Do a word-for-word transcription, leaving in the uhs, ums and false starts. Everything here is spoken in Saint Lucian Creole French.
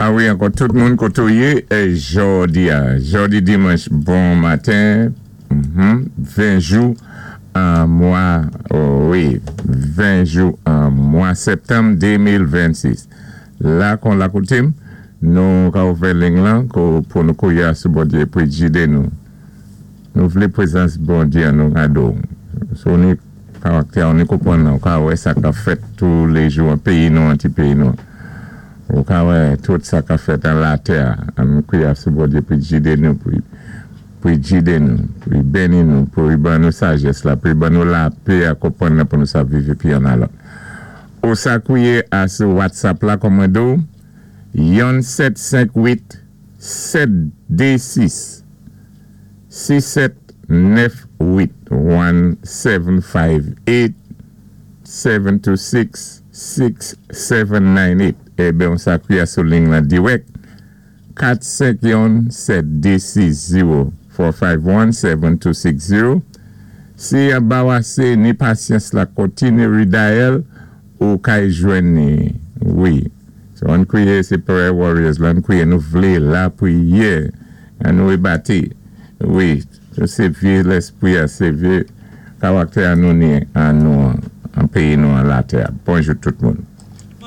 A wi, ankò tout moun koto yé, é jòdi a, jòdi dimanch, bon maten, ven jou an mwa, oh wi, ven jou an mwa septanm de mil vennsis. La kon la koutim, nou ka ouvè ling lan pou nou kwiyé sou Bondyé pou gidé nou. Nou vlé pwézans Bondyé an nou kado. So ni karaktè, ni konpwann nou, ka wè sa ka fèt tou lé jou an péyi nou, an ti péyi nou. Ou ka wè tout sa ka fèt an latè, an nou kwiyé sou Bondyé pou gidé nou, pou pou gidé nou, pou béni nou, pou ban nou sajès la, pou ban nou lapè a konpwann pou nou sa viv pi an alò. Ou sa kwiyé a sou WhatsApp la kòmando, yon sèt senk uit sèt dé sis sis sèt nèf uit, one seven five eight seven two six six seven nine eight. Ében, on sa kwiyé sou ling la dirèk, kat senk yon sèt dé sis zewo, four five one seven two six zero. Si an ba wasé ni pasyans la, kontiné redial, ou kay jwenn ni, wi. So an kwiyé sé prayer warriors la, an kwiyé nou vlé lapriyè, an nou bati. Wi, sé vyé léspwi, sé vyé karaktè an nou ni an nou an péyi nou an latè. Bonjou tout moun.